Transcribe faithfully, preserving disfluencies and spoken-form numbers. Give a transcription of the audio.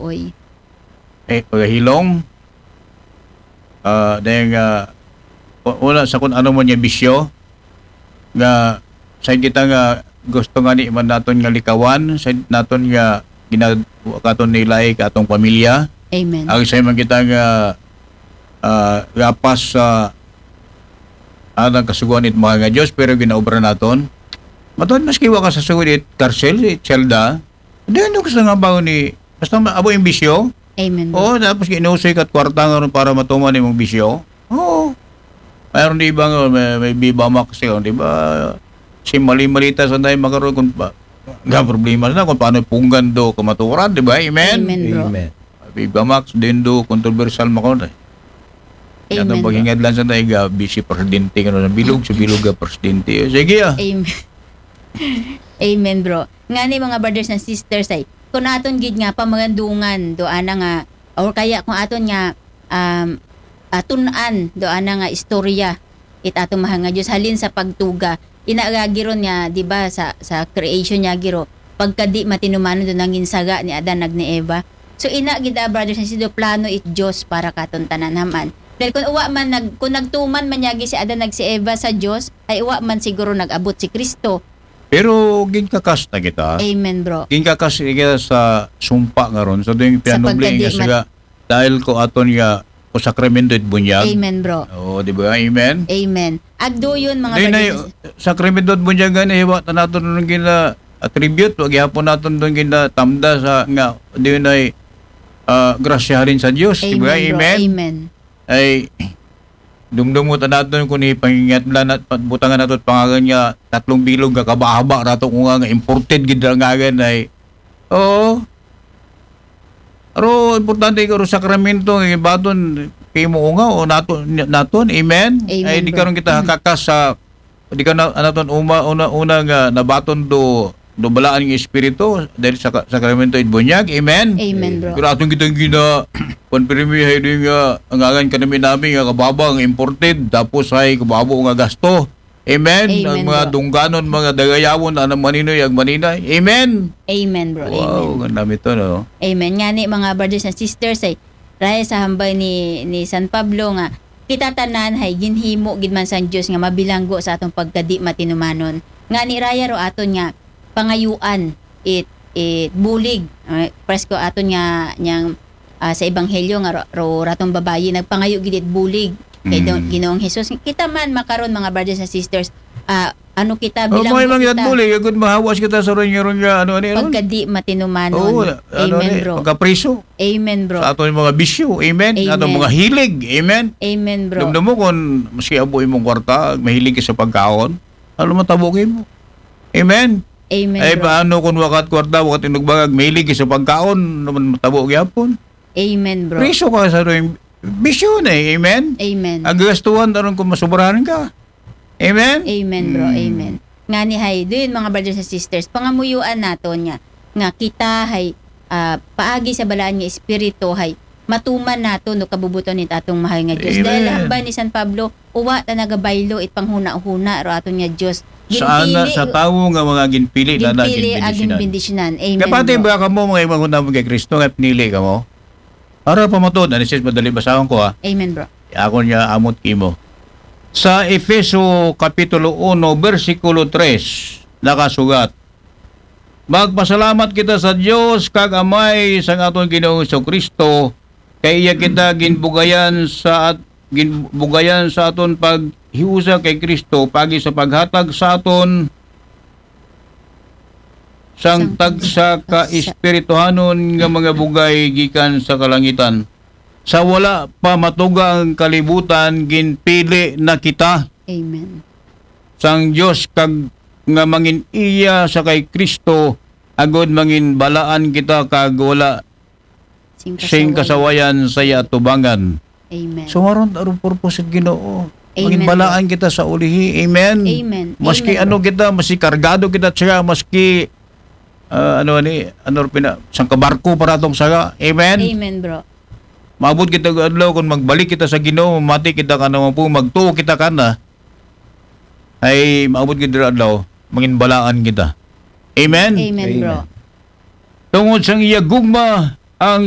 Oy. Eh, pagahilom. Ah, dahil nga, u- una sa kung ano mo niya bisyo, nga sa kita nga gusto nga ni man naton nga likawan, sa naton nga ginagawa katon nilay ka atong pamilya. Amen. Ang sa man kita nga ah, gapas sa anang kasuguan it mga nga Diyos, pero ginaobra naton. Matod maski wa ka sa sugod it karsel, it selda, di ano gusto nga bago ni, basta ma- abo yung bisyo. Amen. Oo, tapos ginusoy ka kwarta nga ron para matuman imong bisyo. Oo. Mayroon di ba nga, may, may Viva Max yun, di ba? Si mali-malita sa tayo makaroon kung pa, nga problema na kung paano punggan do kamaturan, di ba? Amen? Amen, bro. Amen. Viva Max, din do, controversial makaroon eh. Amen, Yan ang bro. paghingadlan sa tayo, nga, busy presidente, ano, sa bilog, sa bilog, nga presidente. Sige ah. Amen. Amen, bro. Nga ni mga brothers and sisters ay, kung aton gid nga pamagandungan, do ana nga, or kaya kung aton nga, um, atun-an, do ana nga istorya, it atong mahal nga Diyos, halin sa pagtuga, ina gagi ron nga, di ba, sa, sa creation niya giro, pagkadi matinumanon do nangin saga ni Adan ag ni Eva. So, ina gid, ah, brothers and sisters, plano it Diyos para katon tanan haman. Dahil kung uwa man, nag, kung nagtuman man yagi si Adan ag si Eva sa Diyos, ay uwa man siguro nag-abot si Kristo. Pero ginkakas na kita. Amen, bro. Ginkakas kita sa sumpa nga ron. Sa doing Sa pianubling pagkadi nga mat- siga, dahil ko aton nga, o sakramento it bunyag. Amen, bro. Oo, di ba? Amen? Amen. Agduyon, mga Di na brothers. yung sakramento at bunyag gani, hiwa, ta naton nung gina attribute, wag ihapon naton nung gina tamda sa nga, di na ay ah, grasya halin sa Diyos. Di ba? Amen, bro. Amen? Amen. Ay, dumdum mo ta naton kung ipangingatlan at butangan nato pangagan nga tatlong bilog nga kabahaba rato kung nga imported gid ang ngagan ay, oo. Pero importante ko sakramento nga ibaton kay mo nga o naton naton. Amen. Amen, Ay di bro. Karon kita kakas sa di ka na naton uma una una nga nabaton do do balaan nga espiritu dahil sa ka- sakramento it bunyag. Amen. Amen, bro. Pero atong kitang gina konfirmi hay doon nga ang angan ka namin namin nga kababa nga imported tapos hay kababo nga gasto. Amen. Amen, Ang mga bro. Dungganon, mga Dagayawon, anang maninoy, ang maninay. Amen. Amen, bro. Wow, Amen. Ang dami to, no? Amen. Nga ni mga brothers and sisters ay raya sa hambay ni ni San Pablo nga kita tanan hay ginhimo gid man sang Dios nga mabilanggo sa atong pagkadi matinumanon. Nga ni raya ro aton nga pangayuan it it bulig. Ay, presko aton nga niyang ah, sa ebanghelyo nga ro, ro ratong babayi nagpangayo gid it bulig kay Mm. Don- Ginoong Jesus. Kita man makaron mga brothers and sisters, ah, ano kita Oh, bilang mo lang kita yan muli. Good mahawas kita sa ron yung nga ano ano ano. pagkadi matinumanon. Oo, ano Amen, ni, bro. pagkapriso Amen, bro. Sa ato yung mga bisyo. Amen. Amen. Ato mga hilig. Amen. Amen, bro. Dumdum mo kung maski abo imong kwarta, mahilig ka sa pagkaon, ano matabo kayo mo? Amen. Amen, Ay, bro. paano kung wakat kwarta, wakat inugbagag, mahilig ka sa pagkaon, naman matabo gyapon? Amen, bro. Priso ka sa rin bisyo na eh. Amen. Amen. Ang gastuhan, aron kung masubrahan ka. Amen. Amen, bro. Mm. Amen. Nga ni hay, doon mga brothers and sisters, pangamuyuan naton nga nga kita hay ah, paagi sa balaan nga espiritu hay matuman nato no kabubuton ni tatong mahal nga Dios. Amen. Dahil hambal ni San Pablo, uwa ta nagabaylo it panghuna-huna ro aton nga Dios. Sa ana, Ginpili- sa tawo nga mga ginpili na na ginpili aging ginbendisyonan. bendisyonan. Amen. Kapatid, Bro. ba ka mo mga imagon naman kay Kristo nga pinili ka mo? Para pamatod, ano siya madali basahon ko ha? Amen, bro. Ako niya amot kimo. Sa Efeso Kapitulo uno, bersikulo tres, nakasugat, "Magpasalamat kita sa Dios kag Amay sang aton Ginoong Kristo, kay iya kita ginbugayan sa at ginbugayan sa aton paghiusa kay Kristo pagi sa paghatag sa aton sang Sang tagsa ka tagsa. espirituhanon nga mga bugay gikan sa kalangitan. Sa wala pa matuga ang kalibutan, ginpili na kita Amen. sang Dios kag nga mangin iya sa kay Kristo, agod mangin balaan kita kag wala Sing sing kasawayan sa iya atubangan." Amen. So maron aron purpose sa Ginoo. Amen. Mangin balaan kita sa ulihi. Amen. Amen. Maski Amen. Ano kita, maski kargado kita siya, maski ah, ano ni, ano pina, sang kabarko para tong saga. Amen. Amen, bro. Maabot kita og adlaw kung magbalik kita sa Ginoo, mati kita ka naman po, magtuo kita kana. Ay maabot kita adlaw, mangin balaan kita. Amen. Amen, bro. Tungod sang iya gugma ang